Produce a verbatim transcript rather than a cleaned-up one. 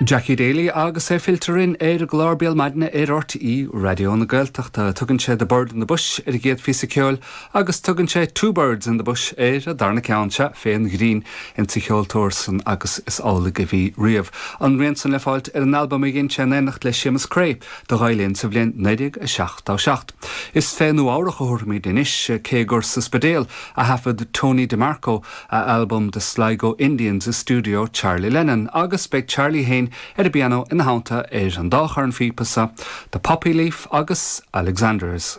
Jackie Daly agus é fillte orainn ar an gclár Béal Maidine ar R T É Raidió na Gaeltachta. Tugann sé The Bird in the Bush ar an gcéad phíosa ceoil agus tugann sé Two Birds in the Bush ar an darna ceann se fén ghrian insa cheoltóir san agus is amhlaidh a bhí riamh. An rian san le fáilt ar an albam a dhein sé in éineacht le Séamus Creagh do Ghael-Linn sa bhliain naoi déag a seachtó seacht. Is fé Nua-Eabhrac a thabharfaimid anois cé gur sa Spidéal a thaifead Tony DeMarco a album The Sligo Indians i studio Charlie Lennon agus beidh Charlie féin ar an bpianó ina theannta ar an dá chorn phíopa sa The Poppy Leaf agus Alexanders.